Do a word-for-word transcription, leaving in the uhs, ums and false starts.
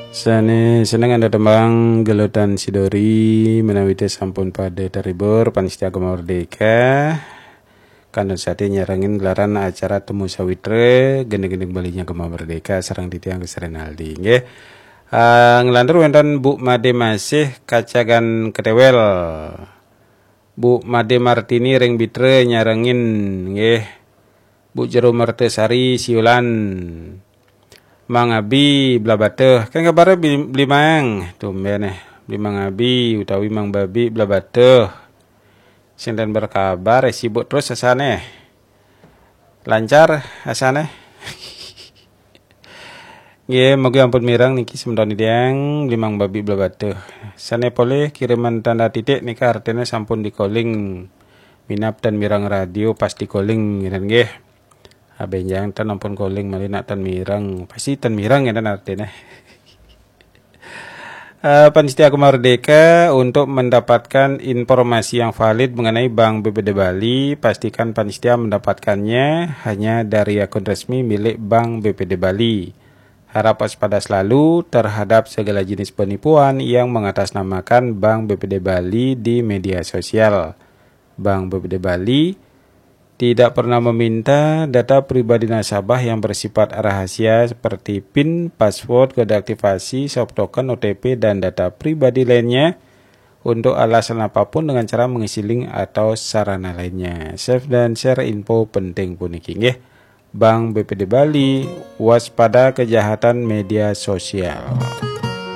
Sane seneng anda tembang gelutan sidori menawi te sampun pada terhibur, panitia Gema Merdeka. Kantun sati nyarengin gelaran acara Temu Sawitra, gending-gending Balinya Gema Merdeka sareng titiang Gus Renaldi, nggih. Ah, nglantur wenten Bu Made Masih Kacagan Ketewel. Bu Made Martini ring Bitra nyarengin, nggih. Bu Jero Mertasari Siulan. Mang Abi Blabatuh. Kan kabare Bli-, Blimang? Tumben eh. Blimang Abi utawi Mang Babi Blabatuh. Sing ten berkabar, eh, sibuk terus asane. Lancar asane. Nggih, mugi ampun mireng niki semeton titiang Blimang Babi Blabatuh. Sane polih kiriman tanda titik nika artine sampun di-calling. Minab ten mireng radio pas di-calling, ngeten nggih. Abenjang ten ampun calling malih nak ten mireng. Pasti ten mireng, ngeten artine. Eh, panitia Gema Merdeka, untuk mendapatkan informasi yang valid mengenai Bank B P D Bali, pastikan panitia mendapatkannya hanya dari akun resmi milik Bank B P D Bali. Harap waspada selalu terhadap segala jenis penipuan yang mengatasnamakan Bank B P D Bali di media sosial. Bank B P D Bali tidak pernah meminta data pribadi nasabah yang bersifat rahasia seperti pin, password, kode aktivasi, soft token, O T P, dan data pribadi lainnya untuk alasan apapun dengan cara mengisi link atau sarana lainnya. Save dan share info penting puniki, nggih. Bank B P D Bali, waspada kejahatan media sosial.